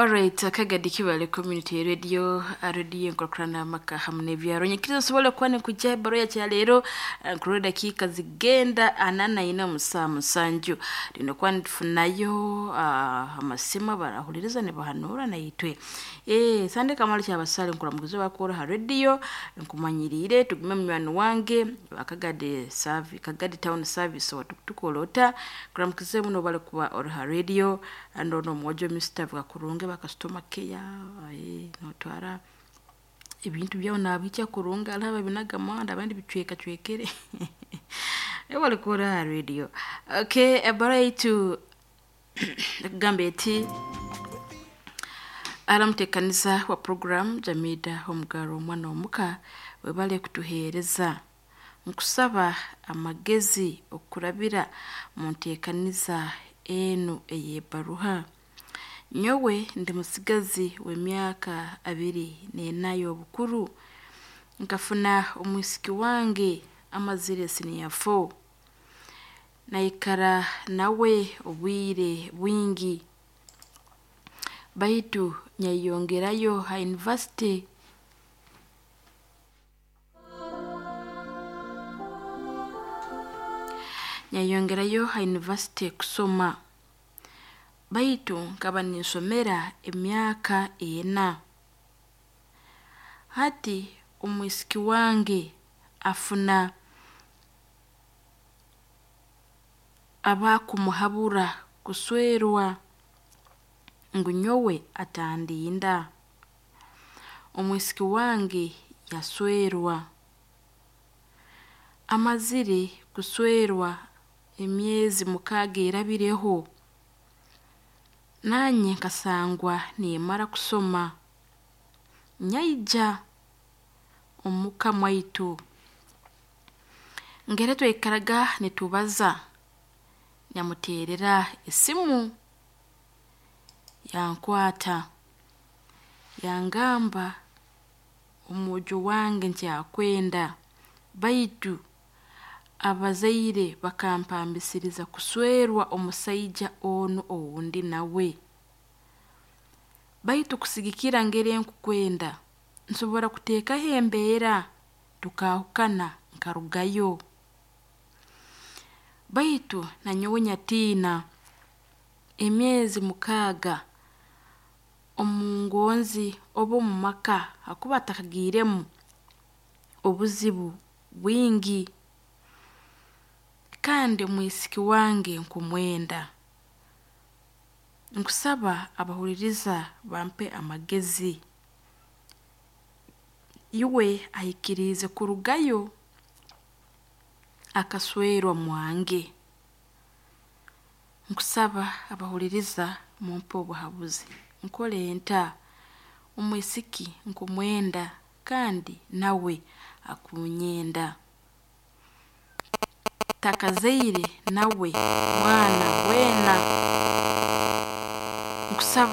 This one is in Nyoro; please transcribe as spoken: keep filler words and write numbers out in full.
Alright, Kagadi Kibale Community Radio, radio enkulaakulana amaka hamu n'ebyaro. Nyikiriza osobole kuba nikujja ebbaruha ya leero nkurora dakiika zigenda ana na ina mu ssaawa musanju. Lino kuba nitufunayo ah, amasimu barahuliriza nibahanuura naitwe. Eh, Sande Kamali Kyabasale nkuramukiza bakora ha radio nkumanyiriire tugume munywani wange wa Kagadi Service, Kagadi Town Service watukutukola ota nkuramukize muno bali kuba ori ha radio ando n'omwojo Mister Bwakurunge ba customer care eh, notwara ebintu byawe nabihikya kurungi hariho ababinaga muhanda abandi bicwekacwekere ebali kuhurra ha radio. Okay, ebbaruha yaitu ekugamba eti aramuteekaniza wa program Jamida Omugaro omwana omuka webale kutuheereza. Nkusaba amagezi okurabira mu nteekaniza enu ey'ebbaruha. Nyowe ndi musigazi w'emyaka abiri n'ena y'obukuru. Nkafuna omwisiki wange amazire senior four. Naikara nawe obwire bwingi baitu nyayeyongerayo ha university. Nyayeyongerayo ha university kusoma baitu nkaba ninsomera emyaka ena. Hati omwisiki wange afuna abakumuhabura kuswerwa ngu nyowe atandinda. Omwisiki wange yaswerwa. Amazire kuswerwa emyezi mukaaga erabireho, nanye nkasangwa nimmara kusoma. Nyaija omuka mwaitu. Ngeri twaikaraga nitubaza, nyamuteerera esimu yankwata yangamba omwojo wange nkyakwenda baitu abazaire bakampambisiriza kuswerwa omusaija onu ou ndi nawe. Baitu kusigikira ngeri nkukwenda, nsobora kuteekaho embeera tukaahukana nkarugayo. Baitu nanyowe nyatiina emyezi mukaaga omungonzi oba omu maka hakuba hatakagiiremu obuzibu bwingi kandi omwisiki wange nkumwenda. Nkusaba abahuliriza bampe amagezi. Iwe aikiriize kurugayo akaswerwa mwange. Nkusaba abahuliriza mumpe obuhabuzi. Nkole nta? Omwisiki nkumwenda kandi nawe akunyenda. Takazaire nawe mwana weena. Nkusaba